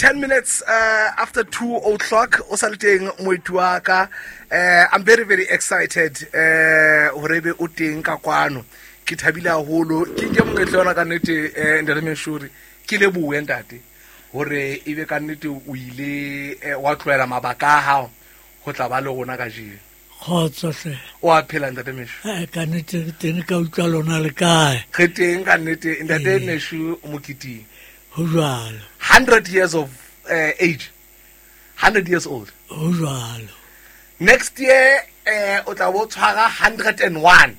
10 minutes after 2 o'clock o sa le teng moeti wa ka. I'm very very excited hore ebe o teng ka kwano, ke thabile haholo, ke nke monyetla ona ka nnete, ntate Meshuri, ke lebohe ntate hore ebe ka nnete o ile wa tlohela mabaka a hao ho tla ba le rona kajeno. Kgotso hle. O a phela, ntate Meshu? Ka nnete re teng, ka utlwa lona le kae? Re teng ka nnete, ntate Meshu Moketeng. Ho jwalo. 100 years of age, 100 years old. Ho jwalo. Next year o tla bo tshwara 101.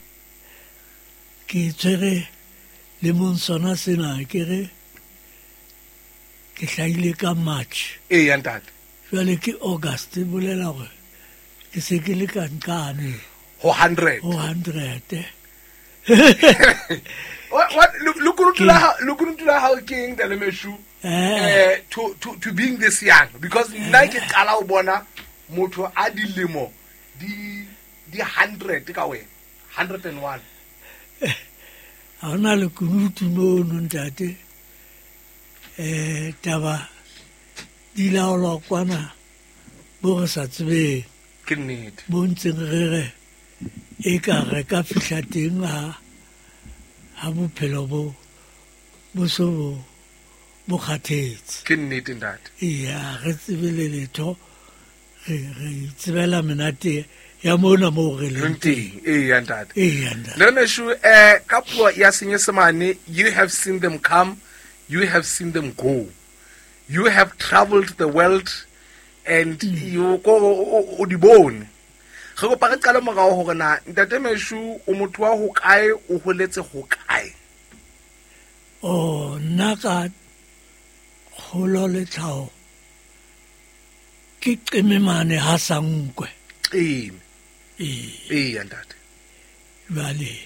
Ke tshwere lemong sona sena, ke re ke hlahile ka March. Ee ya ntate. Jwale ke August, e bolela hore ke se ke le ka nqane ho 100. Ho 100. What lekunutu la hao ke eng, ntate Meshu, to being this young? Because nna ke qala ho bona motho a dilemo di 100 ka wena, 101. Ha hona lekunutu mono, ntate. Taba di laolwa kwana bo re sa tsebeng. Ke nnete. Bo ntseng re re e ka re ka fihla teng ha bophelo bo so bo kgathetse. Ke nnete, ntate. Eya, re tsebe le letho, re itsebela menate ya mona moo re leng teng. Ee ya ntate. Ee ya ntate. Le Meshu, ka puo ya Senyesemane, you have seen them come, you have seen them go, you have traveled the world and you ko o di bone. Re kopa re qale morao hore na ntate Meshu o motho wa ho kae, o holetse ho kae? Oh, nna ka kgolo le tlhaho ke qeme mane ha Sankwe. Qeme. Ee. Ee ya ntate. Jwale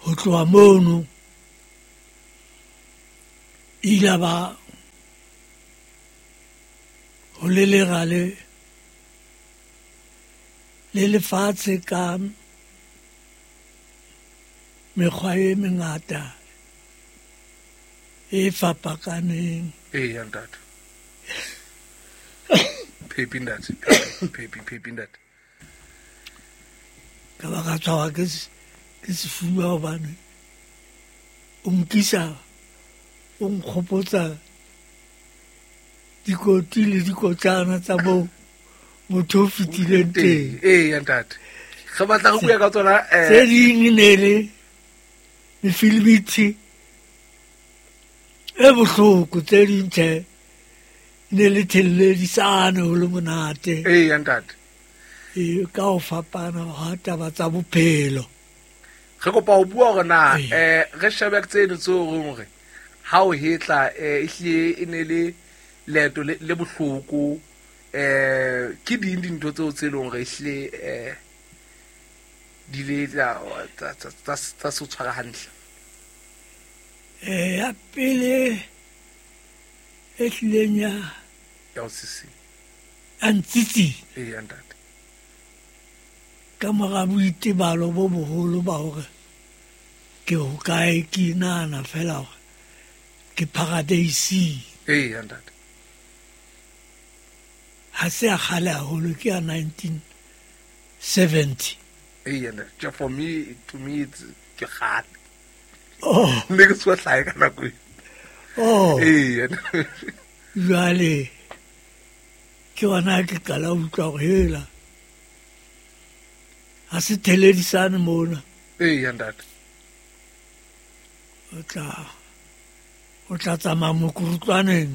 ho tloha mono ile ba ho lelera le lefatshe ka mekgwa e mengata e fapakaneng. Ee ya ntate. Phepi, ntate, phepi, phepi, ntate. Ka ba ka tshwarwa ke sefuba hobane o nkisa, o nkgopotsa dikoti le dikotlana tsa moo motho o fetileng teng. Ee ya ntate, re batla re bua ka tsona. Tse ding e ne le mefilimithi e bohloko, tse ding tjhe ne le thelledisane ho le monate. Ee ya ntate. E ka ho fapana ha taba tsa bophelo. Re kopa ho bua hore na re shebe tseno tseo reng hore ha o hetla, ehlile e ne le leeto le bohloko, ke ding dintho tseo tse leng hore ehlile di le tsa se o tshwara hantle? Ya pele e hlileng ya Ya o sisi. A ntsitsi. Ee ya ntate. Ka mora boitebalo bo boholo ba hore ke hokae, ke nahana fela hore ke paradeising. Ee ya ntate. Ha se a kgale haholo, ke ya 1970. Ee ya ntate. For me, to me it's ke kgale. Oh. Ne ke tswa hlae ka nako eo. Oh. Ee ya. Jwale ke hona ke qala ho utlwa hore hela ha se theledisane mona. Ee ya ntate. O tla tsamaya mokurutlwaneng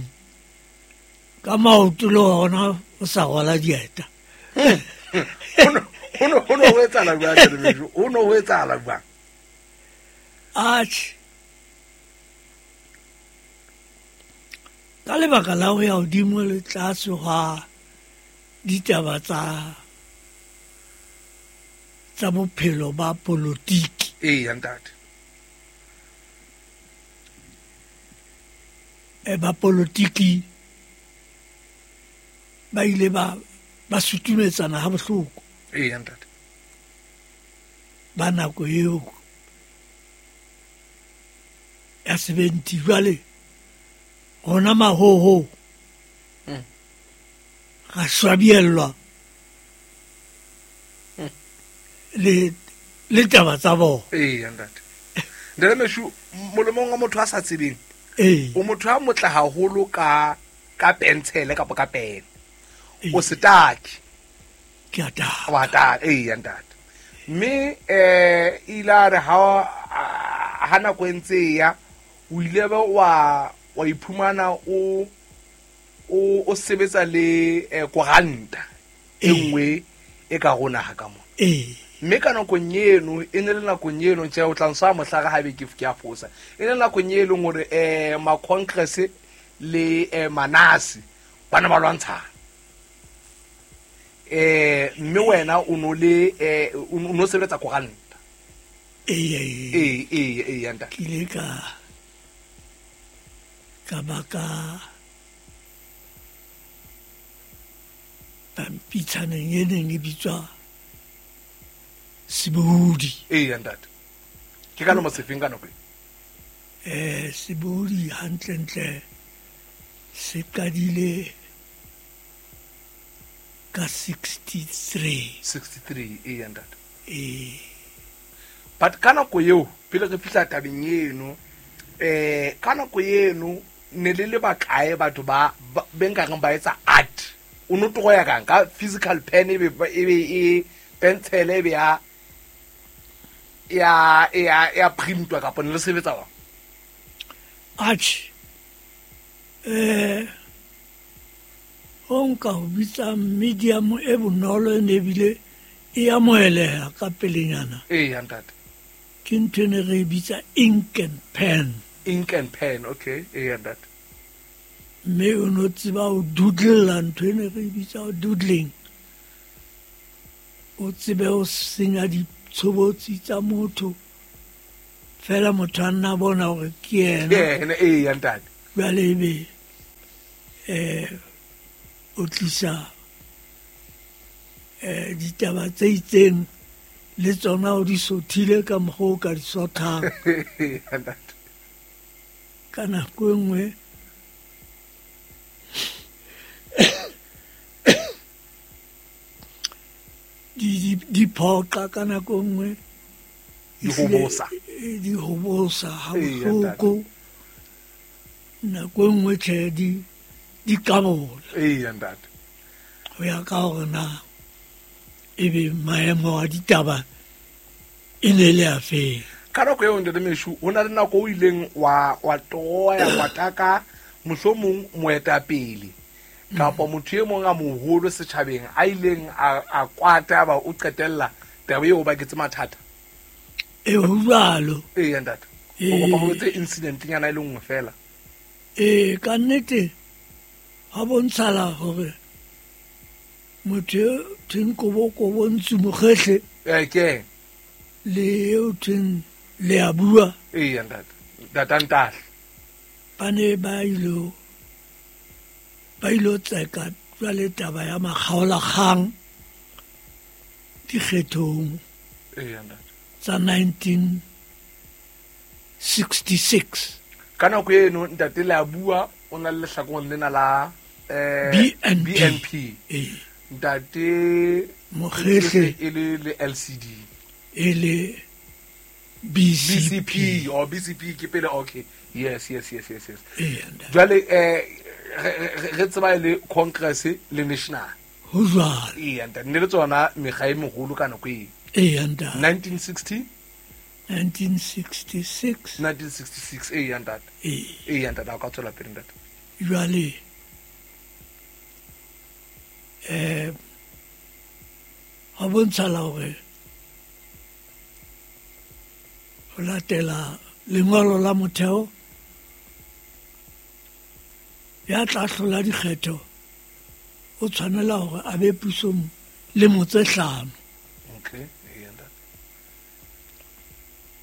ka maoto le hona o sa rwala dieta. Ho no ho etsahala jwang, ntate Meshu? Ho no ho etsahala jwang? Atjhe, ka lebaka la ho ya hodimo le tlase hwa ditaba tsa bophelo ba politiki. Ee ya ntate. Ba politiki ba ile ba sutumetsana ha bohloko. Ee ya ntate. Ba nako eo ya 70, jwale Rona mahoho ra swabiellwa le le taba tsa bona. Ee, ntate. Ntate Meshu, molemong wa motho a sa tsebeng, Ee. o motho a motle haholo ka pentshele kapa ka pene. Ee. O setaki. Ke a taka. Wa taka, ee, ntate. Mme ile a re ha nako e ntse e ya, o ile be wa iphumana o sebetsa le koranta e Ee. nngwe e ka rona ha ka mona. Ee. Mme ka nakong eno, e ne le nakong eno, tjhe, o tla ntsha mohlare ha be ke a fosa. E ne le nakong e leng hore ma-Congress le Manasi ba ne ba lwantshana. Mme wena o no le o no sebetsa koranta. Ee, ee, ee. Ee, ee, ee, ya ntate. Ke ile ka ba ka pampitshaneng e neng e bitswa Sebohodi. Ee, ya ntate. Ke ka lemo sefeng ka nako e? Sebohodi hantlentle se qadile ka 63. 63, ee, ya ntate. Ee. But ka nako eo, pele re fihla tabeng eno, ka nako eno ne le le bakae batho ba be nkareng ba etsa art? O no toro ya kang ka physical pen e be e be e pencil e be ya printwa kapa ne le sebetsa jwang? Atjhe. Ho nka ho bitsa medium e bonolo e ne ebile e amoheleha ka pelenyana. Ee, ya ntate. Ke ntho e ne re e bitsa ink and pen. Ink and pen, okay. Ee, ya ntate. Mme o no tseba ho doodlela, ntho e ne re e bitsa ho doodling. O tsebe ho senya ditshobotsi tsa motho. Fela motho a nna bona hore ke yena. Ke yena, ee, ya ntate. Jwale ebe, o tlisa, ditaba tse itseng le tsona o di sothile ka mokgwa o ka di sothang. Ya ntate. Ka nako e nngwe di phoqa, ka nako e nngwe Di hobosa. Di hobosa ha Ee, ya ntate. bohloko. Nako e nngwe tjhe, di qabola. Ee, ya ntate. Ho ya ka hore na ebe maemo a ditaba e ne le a feng. Ka nako eo, ntate Meshu, ho na le nako o ileng wa toroya, wa taka mohlomong moetapele kapa motho e mong a moholo setjhabeng a ileng a kwata ba o qetella taba eo ba baketse mathata. Ee, ho jwalo. Ee, ya ntate. Ee. O kopa ho etse incident nyana e le nngwe fela. Ee, ka nnete ha bontshala hore motho eo thweng Kobo-Kobo Ntsu Mokgehle Ee, ke ena. le eo thweng Leabua. Ee, ya ntate. Ntate Ntahle. Ba ne ba ilo tseka jwale taba ya makgaolakgang dikgethong Ee, ya ntate. tsa 1966. Ka nako eno ntate Leabua o na le lehlakoreng lena la BNP. BNP. Ee. Ntate Mokgehle e le le LCD. E le BCP. BCP, or BCP ke pele, okay. Yes, yes, yes, yes, yes. Ee, ntate. Jwale, re tseba e le Congress le National. Ho jwalo. Ee, ntate, ne le tsona mekga e meholo ka nako eo. Ee, ntate. 1960? 1966. 1966, ee, ntate. Ee. Ee, ntate, ha o ka tswela pele, ntate. Jwale, ha bontshala hore ho latela lengolo la motheo ya tla hlola dikgetho o tshwanela hore a be pusong lemo tse hlano. Okay, ee, ntate.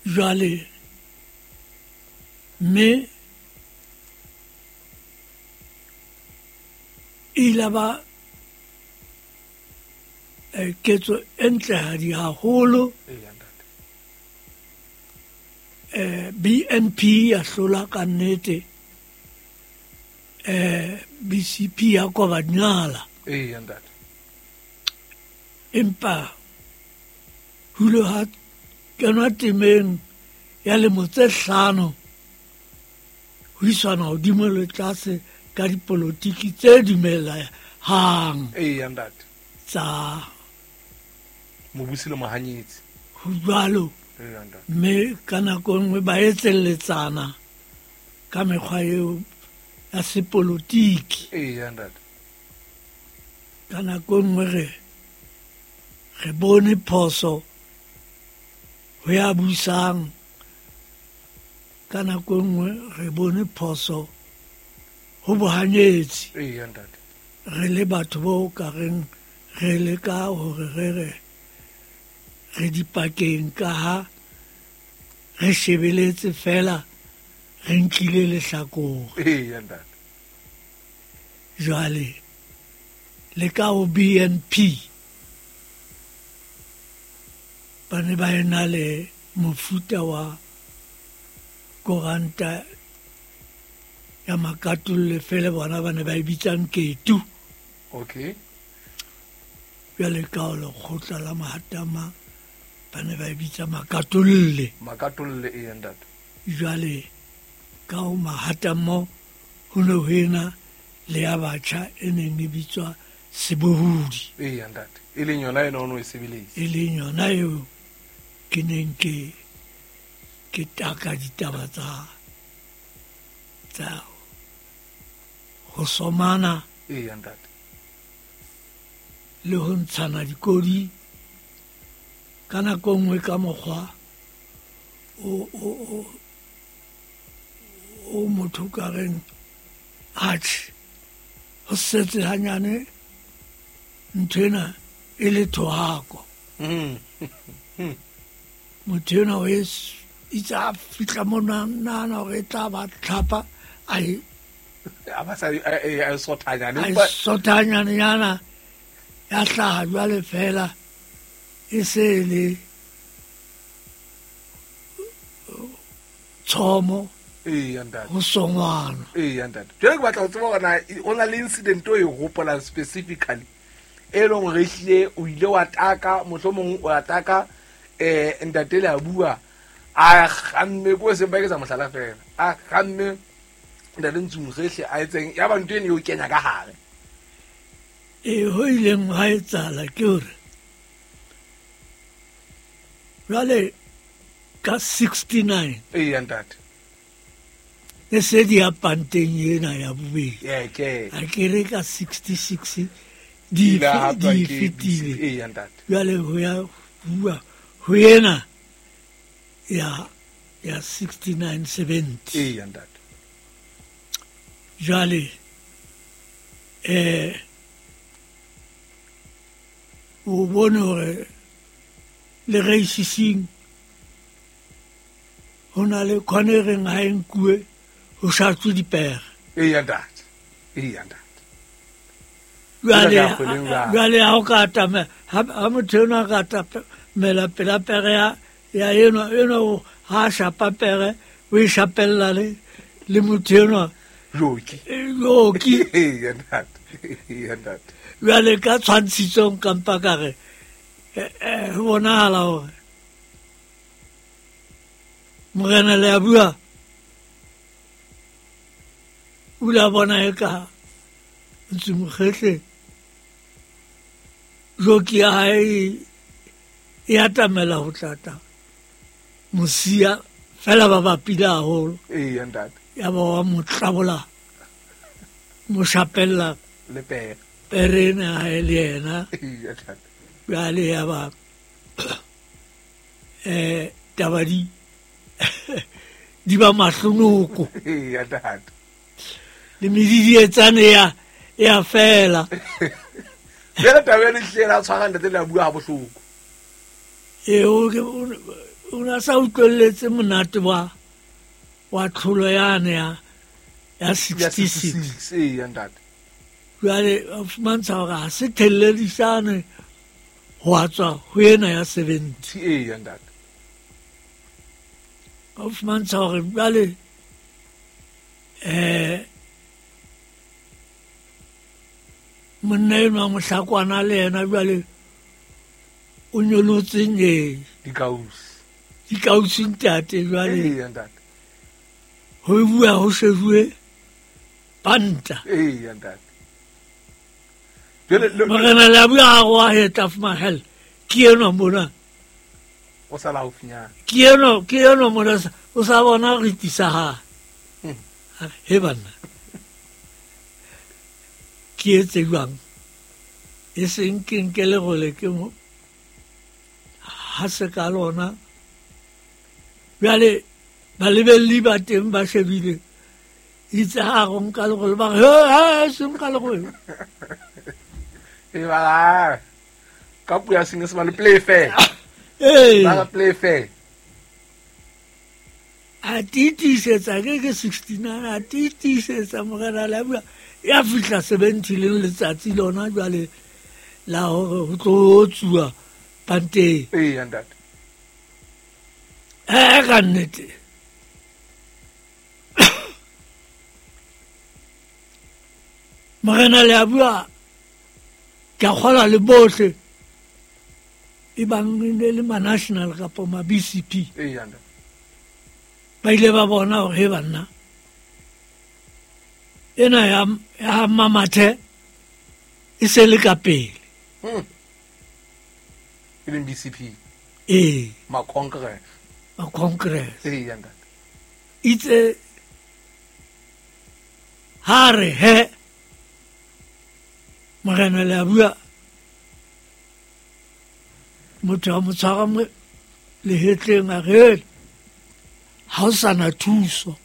Jwale, mme e ile ba ketso e ntlehadi haholo. Ee, ntate. BNP ya hlola ka nnete. BCP ya koba dinala. Eya ntate. Empa ho ile ha kenwa temeng ya lemo tse 5 ho iswana hodimo le tlase ka dipolotiki tse dumelehang. Eya ntate. Tsa mobusi le mohanyetsi. Ho jwalo. Eya ntate. Mme ka nako e nngwe ba etselletsana ka mekgwa eo ya sepolotiki. Eya ntate. Ka nako e nngwe re bone phoso ho ya busang, ka nako e nngwe re bone phoso ho bohanyetsi. Eya ntate. Re le batho bo ka reng re leka hore re re dipakeng ka ha re shebeletse fela re nkile lehlakore. Eya ntate. Jwale le ka ho BNP ba ne ba ena le mofuta wa koranta ya makatolle fela bona ba ne ba e bitsang Ketu. Okay. Jwale ka ho lekgotla la Mahatama ba ne ba e bitsa Makatolle. Makatolle, eya ntate. Jwale ka ho Mahatamo ho ne ho ena le ya batjha e neng e bitswa Sebohodi. Eya ntate. E leng yona ena o no e sebeletsa. E leng yona eo ke neng ke taka ditaba tsa ho somana. Eya ntate. Le ho ntshana dikodi ka nako e nngwe ka mokgwa o motho ka reng atjhe ho setse hanyane ntho ena e le thohako. Motho ena o itse a fihla mona nahana hore e tla ba tlhapa a e sothanyane nyana ya hlaha jwale fela e se le tshomo. Eya ntate. Ho songwana. Eya ntate. Jwale ke batla ho tseba hore na o na le incident o e hopolang specifically e leng hore ehlile o ile wa taka, mohlomong o ataka ntate le a bua a kgamme ko se ba ketsa mohlala fela a kgamme ntate Ntsumkgehle a etseng ya ba ntho eno e o kenya ka hare. E ho ileng ha etsahala ke hore jwale ka 69. Eya ntate. Ne se di ya panteng ena ya bobedi. Ke. A ke re ka 66 di fetile. Eya ntate. Jwale ho ya bua ho ena ya 69 70. Eya ntate. Jwale o bone hore le reisising ho na le khone reng ha e nkuwe ho shatswe dipere. Eya ntate. Eya ntate. Jwale ha o ka atamela ha motho enwa a ka atamela pela pere ya enwa ha shapa pere o e shapella le motho enwa joki. Joki. Eya ntate. Eya ntate. Jwale ka tshwantshitsong kampa ka re ho bonahala hore morena le a bua o ile a bona eka Ntsumkgehle joki ya hae e atamela ho tlata mosia fela ba bapile haholo. Eya ntate. Ya ba wa mo tlabola mo shapella le pere pere ena hae le yena. Eya ntate. Jwale ya ba taba di ba mahlonoko. Eya ntate. Le medidietsane ya fela. Fela taba ena ehlile la tshwara ntate le a bua ha bohloko. E o na sa utlwelletse monate wa tlholo yane ya 66. Eya ntate. Jwale a fumantsha hore ha se thelledisane ho a tswa ho ena ya 70. Eya ntate. A fumantsha hore jwale Monna enwa Mohlakwana le yena jwale o nyolotse nye Dikausi. Dikausi ntate jwale. Eya ntate. Ho bua ho shebuwe panta. Eya ntate. Jwale Morena Leabua a re wa hetla fumahela. Ke enwa mona. O sala haufinyana. Ke enwa mona o sa bona re tisa ha. He banna. Ke etse jwang? E seng ke nke lerole ke mo. Ha se ka lona. Jwale balebelli ba teng ba shebile. Itse ha re nka lerole ba re, he, he, se nka lerole. E ba ka puo ya Senyesemane, play fair. Ee. Ba play fair. A tiisetsa ke 69, a tiisetsa Morena Leabua. Ya fihla 70 leng letsatsi lona jwale la hore ho tlo tsuwa panteng. Eya ntate. Ka nnete. Morena Leabua ke a kgolwa le bohle e bang e ne le ma-national kapa ma-B C P. Eya ntate. Ba ile ba bona hore he banna ena ya Mamathe e se le ka pele. E leng BCP. Ee. Ma-Congress. Ma-Congress. Eya ntate. Itse ha re he Morena Leabua motho a mo tshwara mo lehetleng a re ha o sa na thuso.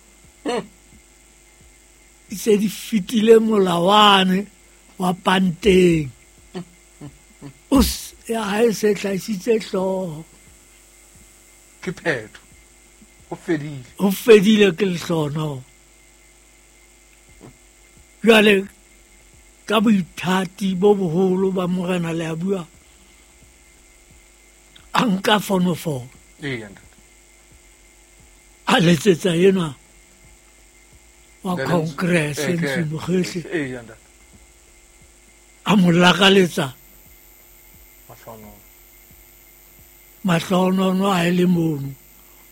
Itse di fetile molawane wa panteng. O ya hae se hlahisitse hlooho. Ke phetho. Ho fedile. Ho fedile ke lehlono. Jwale ka boithati bo boholo ba Morena Leabua a nka fonofono. Eya ntate. A letsetsa enwa wa Ntate Congress, Ntsu- Ntsu Mokhehle. Eya ntate. A mo lakaletsa Mahlohono. Mahlohono a e le mono.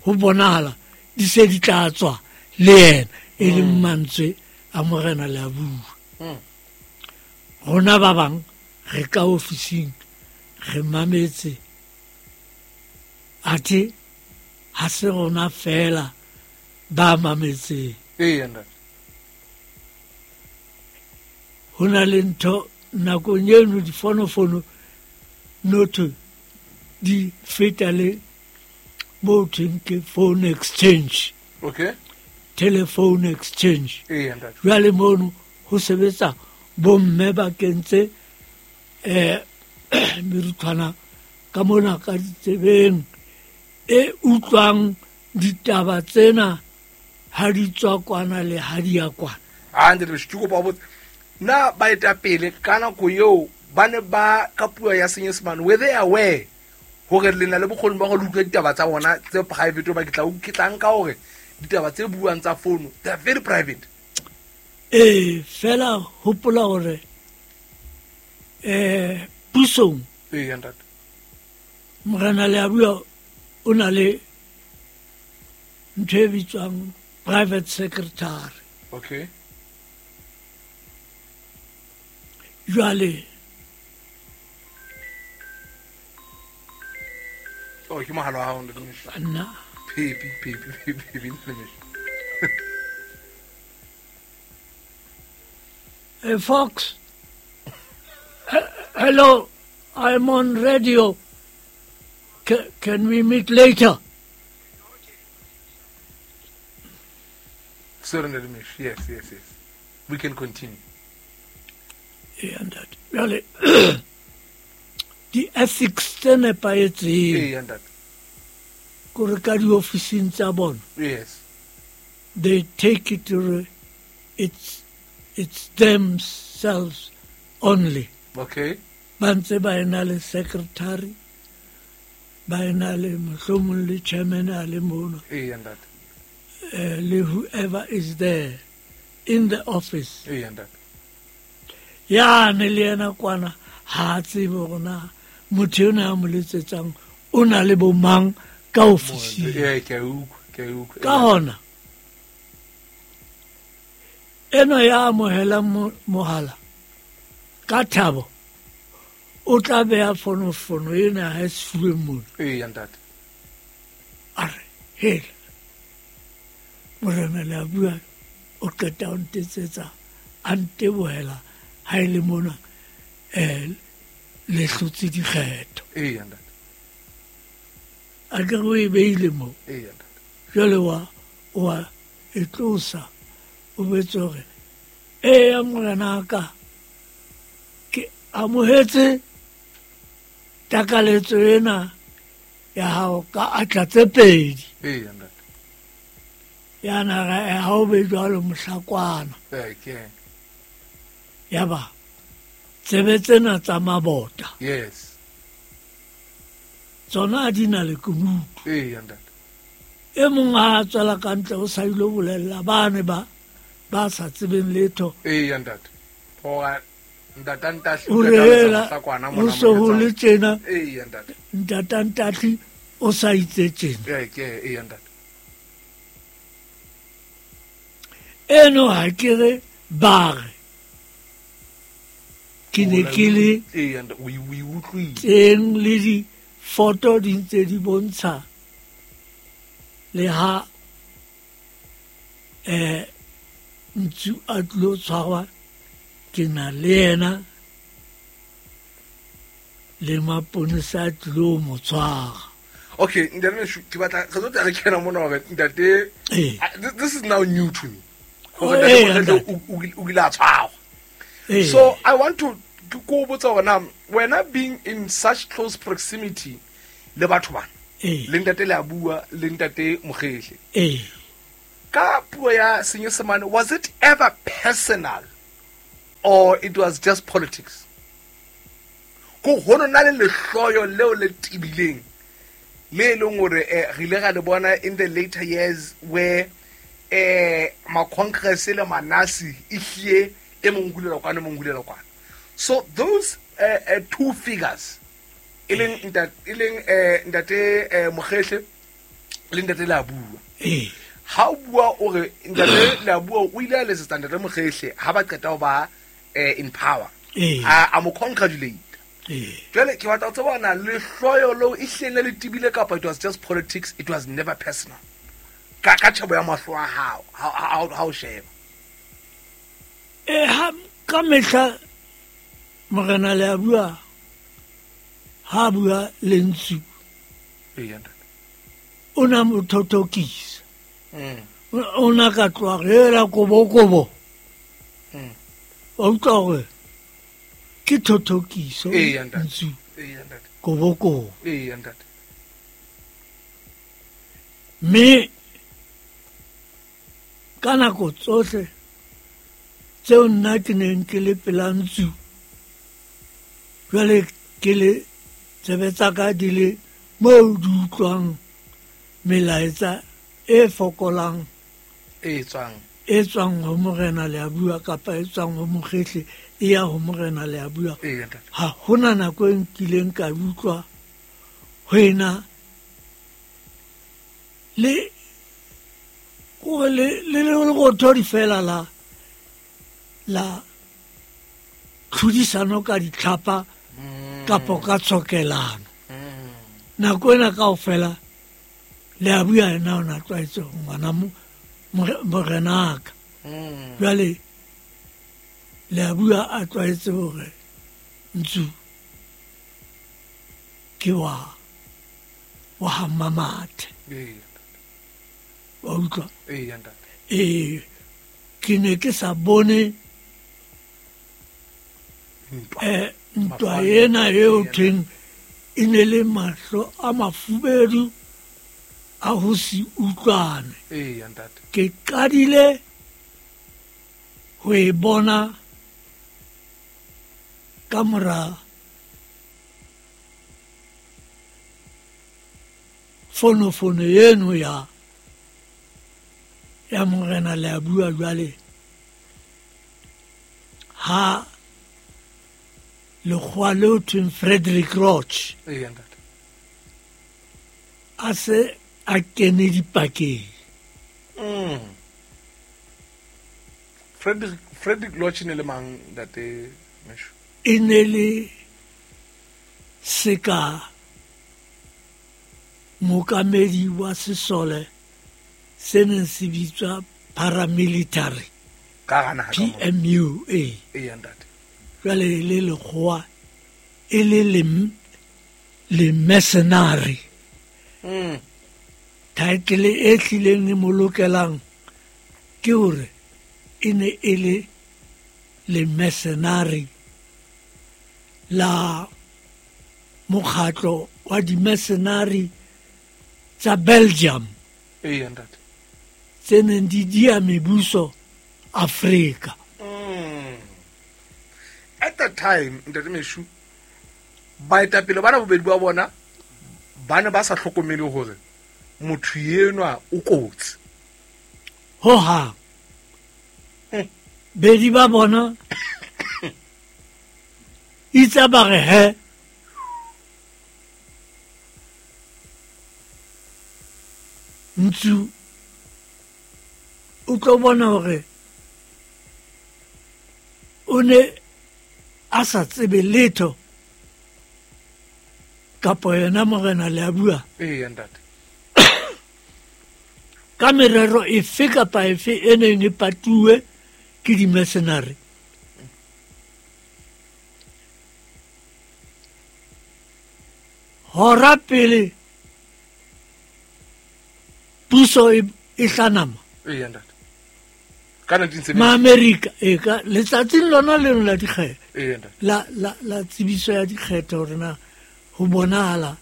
Ho bonahala di se di tla tswa le yena e leng mantswe a Morena Leabua. Rona ba bang re ka ofising re mametse athe ha se rona fela ba mametseng. Eya ntate. Ho na le ntho nakong eno difonofono notho di feta le mo thweng ke phone exchange. Okay. Telephone exchange. Eya ntate. Jwale mono ho sebetsa bomme ba kentse meruthwana ka mona ka ditsebeng e utlwang ditaba tsena ha di tswa kwana le ha di ya kwana. Ah, ntate Mesho, ke kopa ho botsa, na baetapele ka nako eo ba ne ba ka puo ya Senyesemane, were they aware hore le na le bokgoni ba go le utlwa ditaba tsa bona tse private, hoba ke tla nka hore ditaba tse buang tsa fono, they are very private. Ee, fela hopola hore, pusong Eya ntate. Morena Leabua o na le ntho e bitswang private secretary. Okay. Jwale Oh, ke mohala wa hao, Ntate Mesho. Nna. Pepi, pepi, pepi, pepi, Ntate Mesho. Hey, Fox. Hello, I'm on radio. Can we meet later? Sorry, Ntate Mesho. Yes, yes, yes. We can continue. Yeah, Ntate. Jwale, di-ethics tse nepahetseng. Ee, Ntate. Kore ka diofising tsa bona. Yes. They take it to it's themselves only. Okay. Ba ntse ba ena le secretary, ba ena le mohlomong le chairman a le mono. Ee, Ntate. Le whoever is there in the office. Ee, Ntate. Yane le yena kwana ha a tsebe hore na motho ena a mo letsetsang o na le bomang ka ofising. Ee, ke a utlwa, ke a utlwa. Ka hona enwa ya amohelang mohala ka thabo o tla beha fonofono ena ha e sefubeng mona. Eya, ntate. A re hela morena le a bua, o qeta o ntetsetsa a ntebohela ha e le mona le hlotse dikgetho. Eya, ntate. A ke re o e beile moo. Eya, ntate. Jwale wa e tlosa, o betse hore eya morena ka ke amohetse takaletso ena ya hao ka atla tse pedi. Eya, ntate. Ya na re ha o be jwalo mohlakwana. Ee, ke. Ya ba tsebe tsena tsa mabota. Yes. Tsona di na le kunutu. Eya, ntate. E mong ha a tswela ka ntle o sa ilo bolella bane ba sa tsebeng letho. Eya, ntate. Hore ntata Ntahli o o rehela tla ho se ho le tjena. Eya, ntate. Ntata Ntahli o sa itse tjena. Ee, ke, eya, ntate. Eno ha ke re ba re ke ne ke le Eya, ntate, o e utlwile. teng le difoto di ntse di bontsha le ha Ntsu a tlilo tshwarwa ke na le yena le maponesa a tlilo mo tshwara. Okay, ntate Meshu, ke batla re tlo tla re kena mona hore ntate, this is now new to me. Hore ntate Ee, Mokgele o ile a tshwarwa. So I want to ko botsa hore na wena being in such close proximity le batho bana, le ntate le a bua le ntate Mokgele. Ka puo ya Senyesemane, was it ever personal or it was just politics? Ko hono na le lehloyo leo le tibileng le e leng hore re ile ra le bona in the later years where ma Congress le manasi e hlie e mong hulela kwana, e mong hulela kwana. So those two figures e leng ntate Mokgele le ntate le a bua. Ha o bua o re ntate le a bua o ile a letsetsa ntate Mokgele ha ba qeta ho ba in power. A mo congratulate. Jwale ke batla ho tseba na lehloyo leo e hlile le tibile kapa it was just politics, it was never personal. Ka tjhebo ya mahlo a hao, ha o sheba. Ha ka mehla morena le a bua, ha bua le Ntsu. Eya, ntate. O na mo thothokisa. O na ka tloha re kobo-kobo. Wa utlwa hore ke thothokiso. Eya, ntate. Ntsu. Eya, ntate. Kobo-kobo. Eya, ntate. Mme ka nako tsohle tseo nna ke neng ke le pela Ntsu, jwale ke le tsebe tsa ka di le moo di utlwang melaetsa e fokolang e tswang e tswang ho morena le a bua kapa e tswang ho Mokgele e ya ho morena le a bua. Eya, ntate. Ha hona nako e nkileng ka utlwa ho ena le ko le le lerothodi fela la tlhodisano ka ditlhapa kapo ka tshokelano. Nako ena kaofela le a bua ena o na tlwaetse hore ngwana morenaka. Jwale le a bua a tlwaetse hore Ntsu ke wa ha Mamathe. Wa utlwa? Eya, ntate. Ke ne ke sa bone ntwa ena eo thweng e ne le mahlo a mafubedu a ho se utlwane. Eya, ntate. Ke qadile ho e bona ka mora fonofono eno ya morena le a bua jwale ha Lekgowa leo thweng Frederick Roch Eya ntate. a se a kene dipakeng. Frederick Lodge ne le mang ntate Mesho? E ne le seka mookamedi wa sesole se neng se bitswa paramilitary. Ka gana ha ka mo. PMU e. Eya ntate. Jwale e le lekgowa e le le mercenary. Title e hlileng e mo lokelang ke hore e ne e le le mercenary la mokgatlo wa di-mercenary tsa Belgium. Eya ntate. Tse neng di dia mebuso Afrika. At that time ntate Meshu, baetapele bana bobedi ba bona ba ne ba sa hlokomele hore motho enwa o kotsi. Ho hang. Bedi ba bona itse ba re he Ntsu o tlo bona hore o ne a sa tsebe letho kapo yena morena le a bua. Eya ntate. Ka merero efe kapa efe e neng e patuwe ke di-mercenary. Hora pele puso e hlanama. Eya ntate. Ka 1970. Ma-Amerika e ka letsatsing lona leno la dikgetho. Eya ntate. La tsebiso ya dikgetho hore na ho bonahala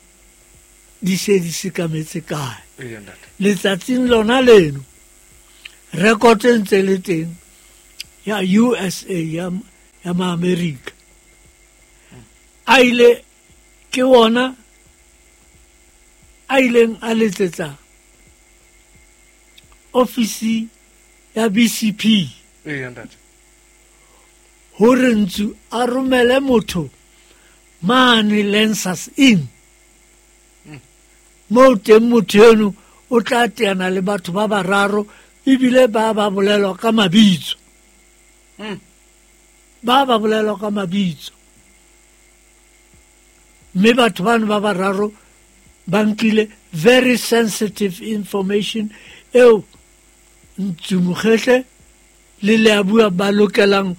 di se di sekametse kae. Eya ntate. Letsatsing lona leno record e ntse le teng ya USA ya ma-Amerika. A ile ke ona a ileng a letsetsa ofisi ya BCP. Eya ntate. Hore Ntsu a romele motho mane Lancers Inn. Moo teng motho eno o tla teana le batho ba bararo ebile ba ba bolelwa ka mabitso. Ba ba bolelwa ka mabitso. Mme batho bano ba bararo ba nkile very sensitive information eo Ntsu Mokhehle le Leabua ba lokelang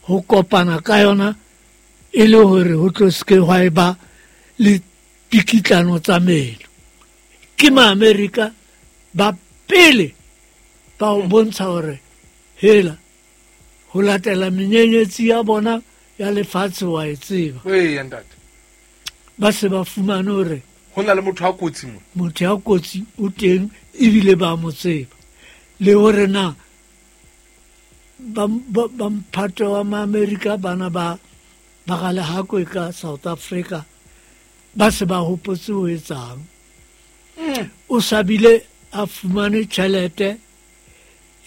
ho kopana ka yona e le hore ho tlo se ke hwa eba le pikitlano tsa meno. Ke ma-Amerika ba pele ba o bontsha hore hela ho latela menyenyetsi ya bona ya lefatshe wa e tseba. Eya ntate. Ba se ba fumane hore ho na le motho a kotsi mo. Motho ya kotsi o teng ebile ba mo tseba. Le hore na ba mphato wa ma-Amerika bana ba ba Galehako ka South Africa ba se ba hopotse ho etsang. O sabile a fumane tjhelete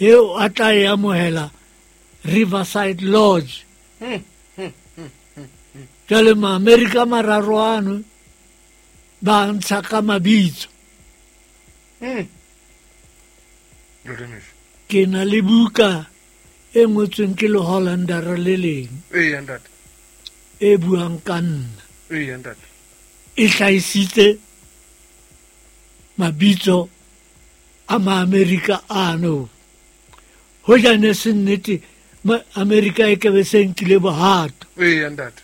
eo a tla e amohela Riverside Lodge. Jwale ma-Amerika mararo ano ba ntsha ka mabitso. Ke na le buka e ngotsweng ke le Hollander le leng. Eya ntate. E buang ka nna. Eya ntate. E hlahisitse mabitso a ma-Amerika ano. Hoja ne se nnete ma-Amerika e kebe se nkile bohato. Eya ntate.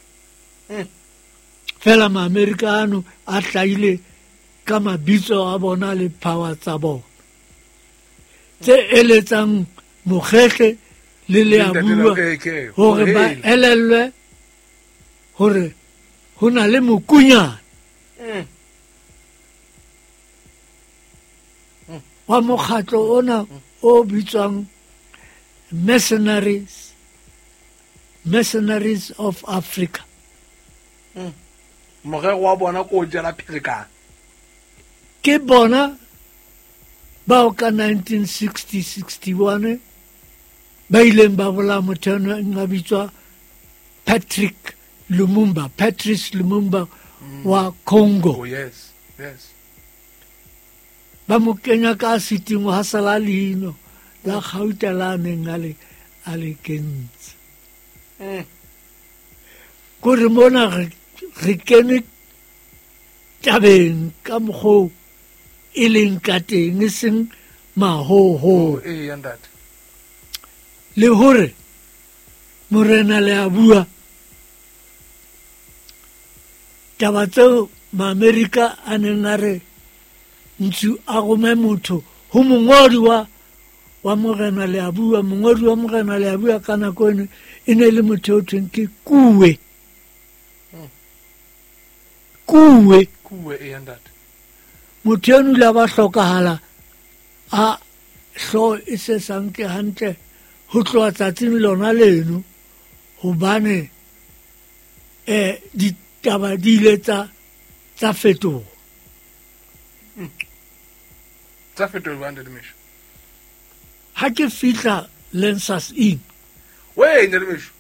Fela ma-Amerika ano a hlahile ka mabitso a bona le power tsa bona. Tse eletsang Mokhehle le Leabua hore ba elellwe hore ho na le mokunyana wa mokgatlo ona o bitswang Mercenaries of Africa. Morero wa bona ko jala pherekano. Ke bona bao ka 1960-61 ba ileng ba bolaya motho eno a bitswa Patrick Lumumba, Patrice Lumumba wa Congo. Oh, yes, yes. Ba mo kenya ka siting ha sala leino la gauta la neng a le kentse. Kore mona re kene tabeng ka mokgwa e leng ka teng, e seng mahoho. Ee, ntate. Le hore morena le a bua taba tseo Maamerika a neng a re Ntsu a rome motho ho mongodi wa morena le a bua, mongodi wa morena le a bua ka nako eno e ne le motho o thweng ke Kuwe. Kuwe. Kuwe, ee, ntate. Motho eno ile a ba hlokahala a hlooho e se sa nke hantle ho tloha tsatsing lona leno, hobane ditaba di ile tsa fetoha. Tsa fetoha jwang, Ntate Mesho? Ha ke fihla Lancers Inn. Wee, Ntate Mesho,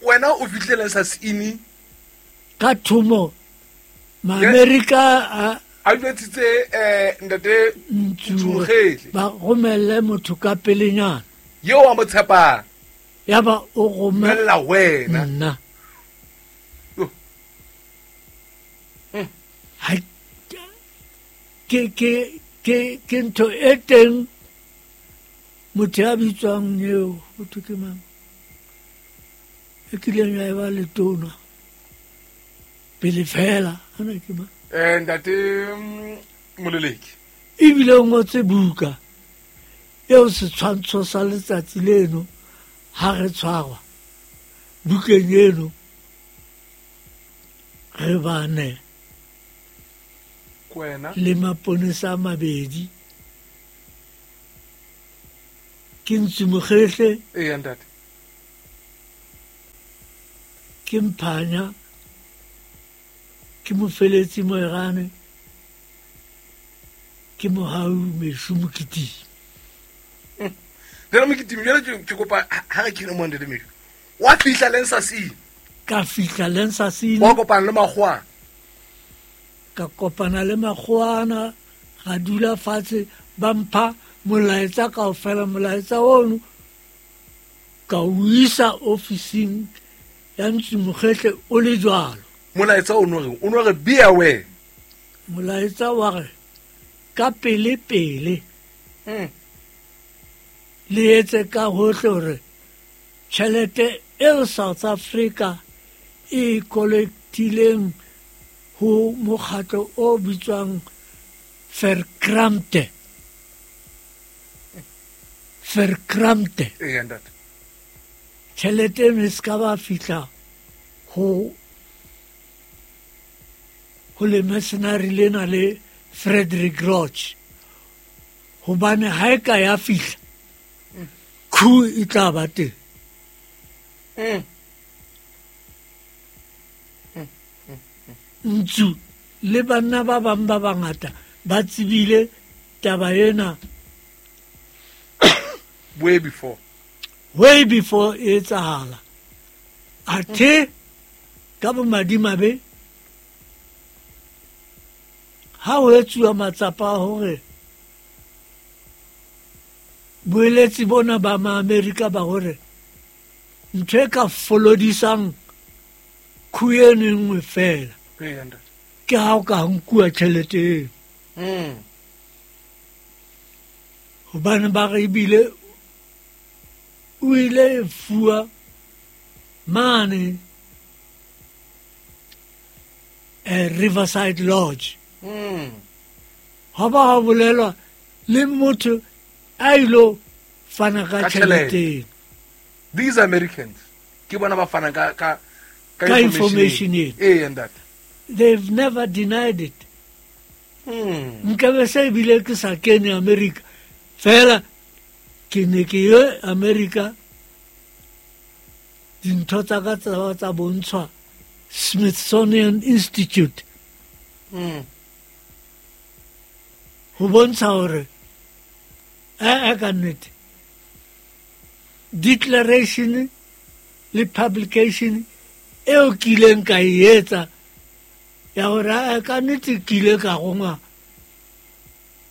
wena o fihlile Lancers Inn? Ka thomo, Maamerika a jwetsitse Ntate Ntsu Mokgetle. Ba romelle motho ka pelenyana. Eo a mo tshepang. Yaba o romella wena. Nna. Ha ke ntho e teng motho ya bitswang eo ho thwe ke mang e kileng ya eba letona pele fela ana ke mang? Ntate Moleleki. Ebile o ngotse buka eo setshwantsho sa letsatsi leno ha re tshwarwa bukeng eno re bane kwena le maponesa a mabedi ke Ntsu Mokgetle. Ee, ntate. Ke Mphanya, ke Mofeletsi Moerane, ke Mohau Meshu Mokitimi. Ntate Mokitimi, jwale ke kopa ha re kene mo, Ntate Meshu. Wa fihla Lancers Inn? Ka fihla Lancers Inn. Wa kopana le makgowa? Ka kopana le makgowana, ra dula fatshe, ba mpha molaetsa kaofela. Molaetsa ono ka o isa ofising ya Ntsu Mokgetle o le jwalo. Molaetsa o no re be aware. Molaetsa wa re ka pele pele. Le etse ka hohle hore tjhelete eo South Africa e kolektileng ho mokgatlo o bitswang Verkrampte. Verkrampte. Ee, ntate. Tjhelete eno e ska ba fihla ho le mercenary lena le Frederick Roach, hobane ha e ka ya fihla khu e tla ba teng. Ntsu le banna ba bang ba bangata ba tsebile taba ena way before. Way before e etsahala. Athe ka bomadimabe ha ho etsuwa matsapa a hore boeletsi bona ba Maamerika ba hore ntho e ka folodisang khu eno e nngwe fela ke ha o ka nkuwa tjhelete eno. Hobane ba re ebile o ile fuwa mane Riverside Lodge. Ha ba ha bolelwa le motho a ilo fana ka tjhelete. These Americans ke bona ba fana ka information eno. Ee, ntate. They've never denied it. Nkabe se ebile ke sa kene America fela, ke ne ke ye America, dintho tsa ka tsa bontshwa Smithsonian Institute. Ho bontsha hore ka nnete declaration le publication eo ke ileng ka e etsa ya gore a ka nnete ke ile ka gongwa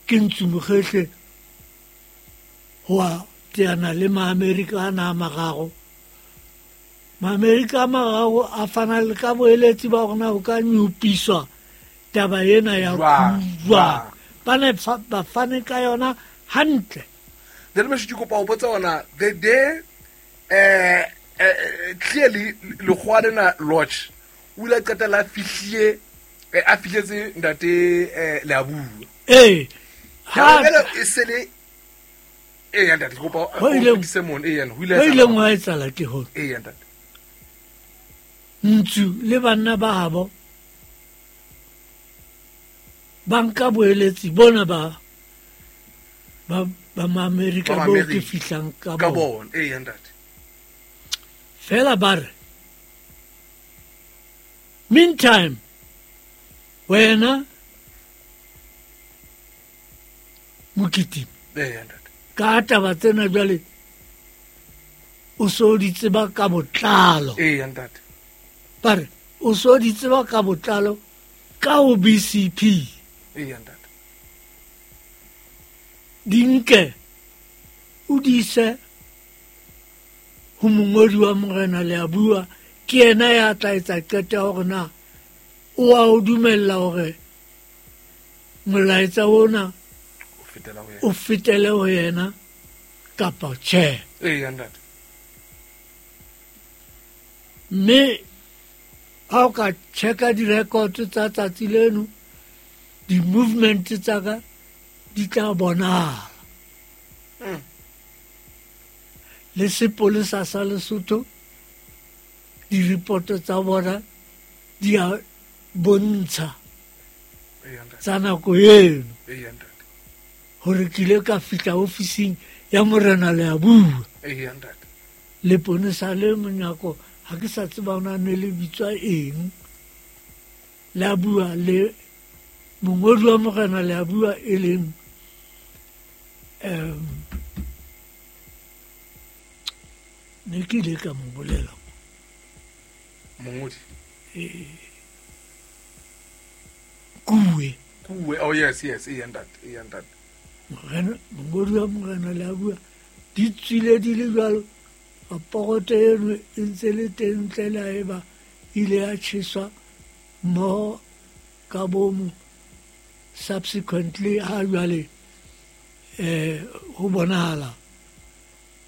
ke Ntsu Mokhehle ho a teana le Maamerika ana a magago. Maamerika a magago a fana le ka boeletsi ba gona go ka nyopiswa taba ena ya jwang. Ba ne ba fane ka yona hantle. Then me ke kopa o botsa ona the day clearly lekgowa lena Lodge o ile a qetella a fihlile a fihletse ntate Leabua. Ee. Ha e se le ee ntate ke kopa o fetise mona. Ee ho ile ho ileng wa etsahala ke hore ee ntate Ntsu le banna ba habo ba nka boeletsi bona ba ba Maamerika bo ke fihlang ka bona. Ee ntate. Fela ba re meantime wena Mokitimi ee ntate ka taba tsena jwale o so di tseba ka botlalo. Ee ntate. Ba re o so di tseba ka botlalo ka ho BCP. Ee ntate. Di nke o di ise ho mongodi wa Morena Leabua, ke yena ya tla etsa qeto ya hore na o a o dumella hore molaetsa ona o fetele ho yena kapa tjhe. Ee ntate. Mme ha o ka checka di-record tsa tsatsi leno, di-movement tsa ka di tla bonahala. Le sepolesa sa Lesotho di-report tsa bona di a bontsha tsa nako eno hore ke ile ka fihla ofising ya Morena Leabua. Leponesa le monyako ha ke sa tseba ona ne le bitswa eng, la bua le mongodi wa Morena Leabua e leng ne ke ile ka mo bolela mongodi Kuwe. Kuwe, oh yes yes, ee ntate, ee ntate. Morena mongodi wa Morena Leabua di tswile di le jwalo. Raporoto eno e ntse le teng ntle le ha eba ile ya tjheswa mmoho ka bomo. Subsequently ha jwale ho bonahala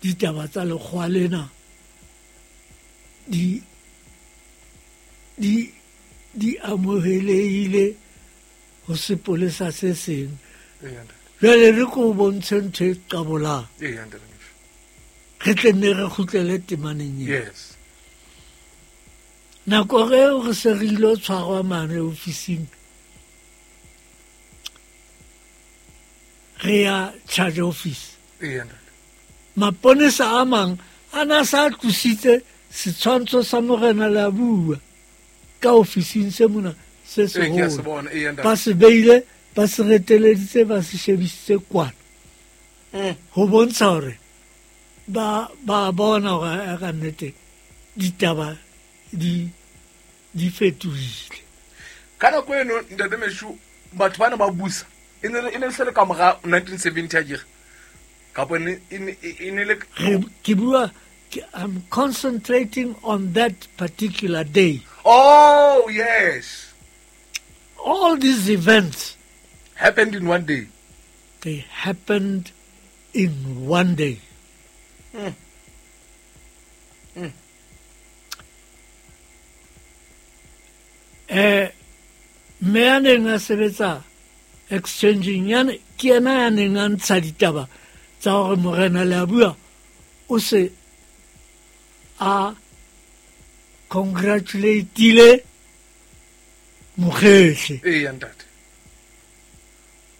ditaba tsa lekgowa lena di di amohelehile ho sepolesa se seng. Jwale re ko bontshe ntho e qabolang. Re tle nne re kgutlele temaneng eo. Yes. Nako eo re se re ilo tshwarwa mane ofising, re ya charge office. Maponesa a mang a na sa tlositse setshwantsho sa Morena Leabua ka ofising se mona se seholo. Ba se beile, ba se reteleditse, ba se shebisitse kwana. Ho bontsha hore ba bona hore ka nnete ditaba di fetohile. Ka nako eno ntate Meshu batho bana ba busa e ne se le ka mora 1970 akere kapa e ne le ke bua, I'm concentrating on that particular day. Oh yes. All these events happened in one day. They happened in one day. Mme ya neng a sebetsa exchanging yane ke yena ya neng a ntsha ditaba tsa hore Morena Leabua o se a congratulateile Mokhehle. Ee ntate.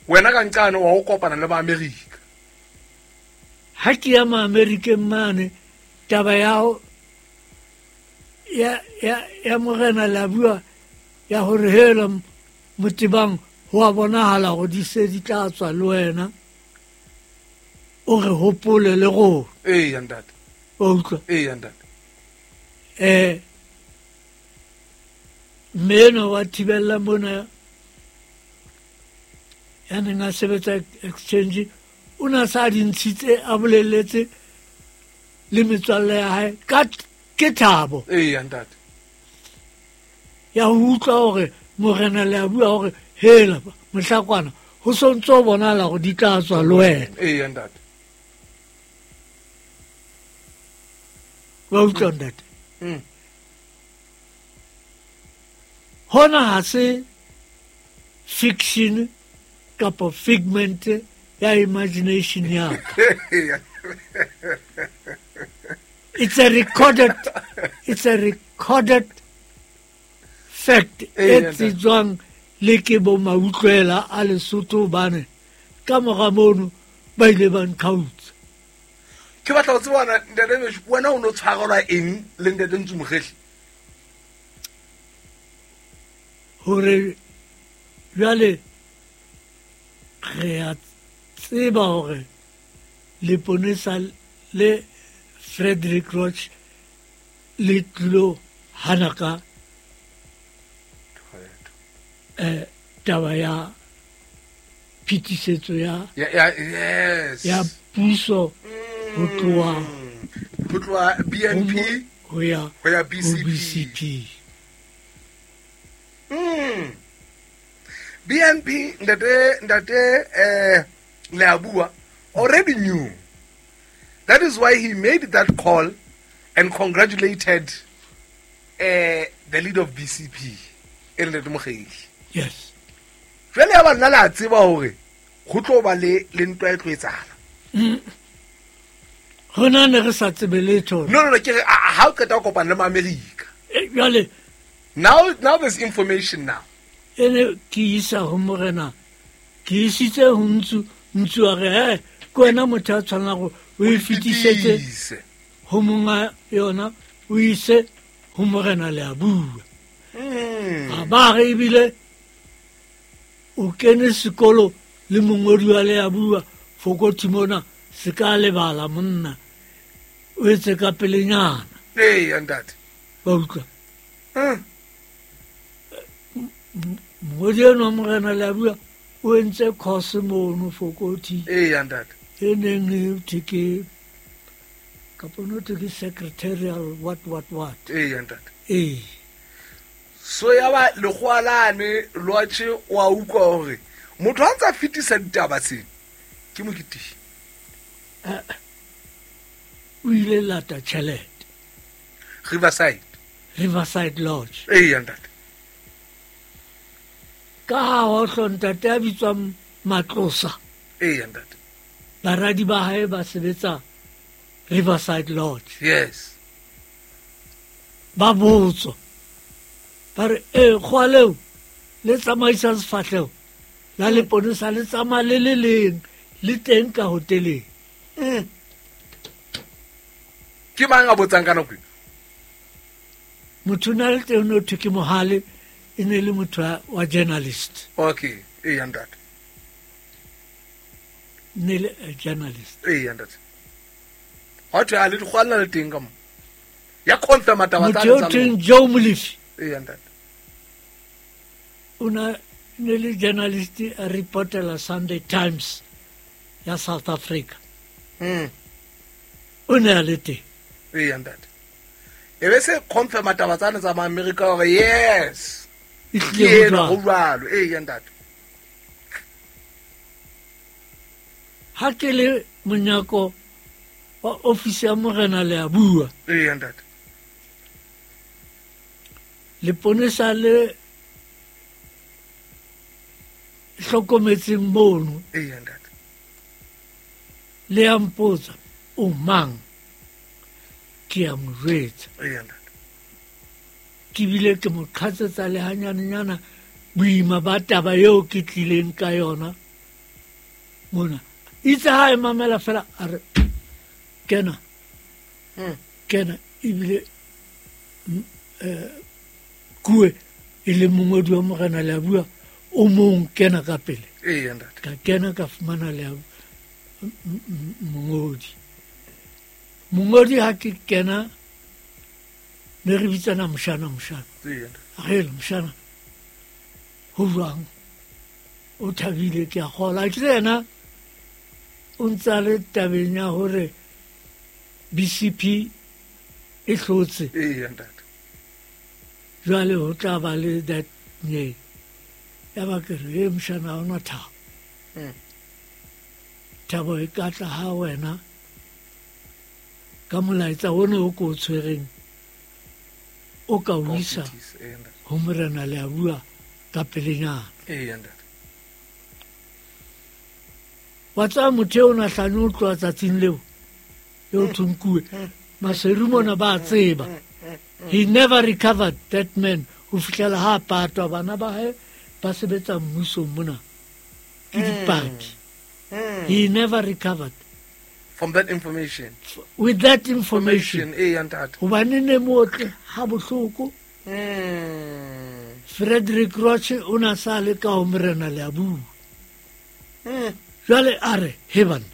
Wena ka nqane wa ho kopana le ba Amerika. Ha ke ya Maamerikeng mane taba ya Morena Leabua ya hore hela Motebang ho a bonahala hore di se di tla tswa le wena o re hopole le rona. Ee ntate. O utlwa? Ee ntate. Mme enwa wa thibella mona ya neng a sebetsa exchange o ne a sa di ntshitse a boleletse le metswalle ya hae ka ke thabo Eya ntate. Ya ho utlwa hore morena le a bua hore hela mohlakwana ho sontse o bonala hore di tla tswa le wena. Eya ntate. Wa utlwa ntate? Hona ha se fiction kapa figment ya imagination ya ka. It's a recorded fact e tsejwang le ke bo mautlwela a Lesotho hobane ka mora mono ba ile ba nqhautsa. Ke batla ho tseba ntate Meshoe, wena o no tshwarelwa eng le ntate Ntsu Mokhehle? Hore jwale re a tseba hore leponesa le Frederick Roach le tlilo hana ka taba ya phetisetso ya Ya, yes. ya puso ho tloha Ho tloha BNP ho ya ho ya ho BCP. BCP. BNP ntate Leabua already knew. That is why he made that call and congratulated the leader of BCP, e leng Ntate Mokgehle. Yes. Jwale ya ba nna le a tseba hore ho tlo ba le ntwa e tlo etsahala. Rona ne re sa tsebe letho. No, ke re ha o qeta ho kopana le ma-America. Jwale Now there's information now. E ne ke isa ho morena, ke isitse ho Ntsu, Ntsu a re, "Eh, ke wena motho a tshwanela hore o e fetisetse Fetise. ho monga yona, o ise ho morena le a bua." A ba re ebile o kene sekolo le mongodi wa le a bua Fokothi mona, se ka lebala monna, o etse ka pelenyana. Ee, ntate. Wa utlwa? Mongodi enwa wa morena le a bua o entse course mono Fokothi. Ee, ntate. E neng e thwe ke kapa no thwe ke secretarial what what what. Ee, ntate. Ee. So ya ba lekgowa lane lwatjhe wa utlwa hore motho ha ntse a fetisa ditaba tsena ke Moketeng. O ile lata tjhelete. Riverside. Riverside Lodge. Ee, ntate. Ka ha ho ntate a bitswang Matlosa. Ee, ntate. Baradi ba hae ba sebetsa Riverside Lodge. Yes. Ba botswa. Ba re, "Eh, kgwa leo le tsamaisa sefahleho la leponesa le tsamaya le le leng le teng ka hoteleng." Ke mang a botsang ka nako e? Motho o na le teng o thwe ke Mohale, e ne le motho wa journalist. Okay, ee, ntate. Ne le a journalist. Ee, ntate. Ha thwe a le dikgwa le na le teng ka mo. Ya confirm taba tsa Motho eo tsa thweng lona. Joe Molefi. Ee, ntate. O na ne le journalist a reportela Sunday Times ya South Africa. O ne a le teng. Ee, ntate. E be se confirm taba tsane tsa ma-America hore yes. E Ke tlile ho ena, ho jwalo. jwalo. Ee, ntate. Ha ke le monyako wa ofisi ya morena le a bua. Ee, ntate. Leponesa le hlokometseng mono. Ee, ntate. Le a mpotsa, o mang? Ke a mo jwetsa. Ee, ntate. Ke bile ke mo qhatsetsa le hanyanenyana boima ba taba eo ke tlileng ka yona mona. Itse ha e mamela fela a re, kena. Kena ebile, kue e le mongodi wa morena le a bua, o mong kena ka pele. Ee, ntate. Ka kena ka fumana le a mongodi. Mongodi ha ke kena Ne re bitsana moshana moshana. Re le moshana ho jwang, o thabile ke a kgola. Ke yena o ntse a le tabeng ya hore BCP e hlotse. Jwale ho tla ba le that nye. Ya ba ke re, e moshana ha ona thabo. Thabo e ka tla ha wena ka molaetsa ono o ko o tshwereng o ka o isa ho morena le a bua ka pelenyana. Wa tsaya motho eo o nahlane o tloha tsatsing leo eo thonkuwe Maseru mona ba tseba. He never recovered, that man, ho fihlela ha patwa. Bana ba hae ba sebetsa mmusong mona ke dipaki. He never recovered from that information, with that information. Hobane ne motle ha bohloko. Frederick Roche o na sa le ka ho morena le a bua. Jwale a re, he banna,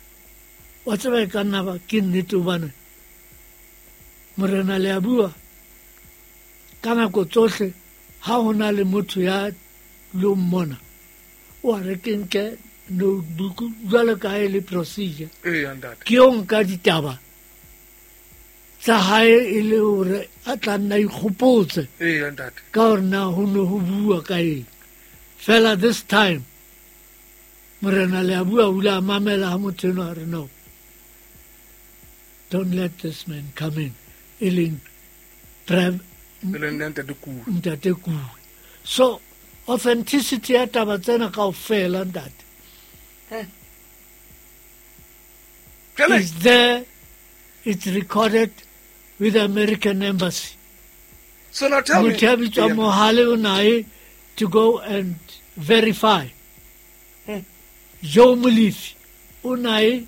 wa tseba e ka nna ba ke nnete, hobane morena le a bua ka nako tsohle ha ho na le motho ya lo mmona, o a re ke nke notebook jwalo ka e le procedure. Ke yo nka ditaba tsa hae e le hore a tla nna ikgopotse ka hore na ho ne ho bua ka eng. Fela this time morena le a bua o ile a mamela ha motho enwa a re no, don't let this man come in, e leng ntate Kuwe. So authenticity ya taba tsena kaofela ntate is there, it's recorded with the American Embassy. So now tell me, motho ya bitswang Mohale o nae to go and verify. Joe Molefi o nae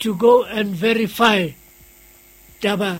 to go and verify taba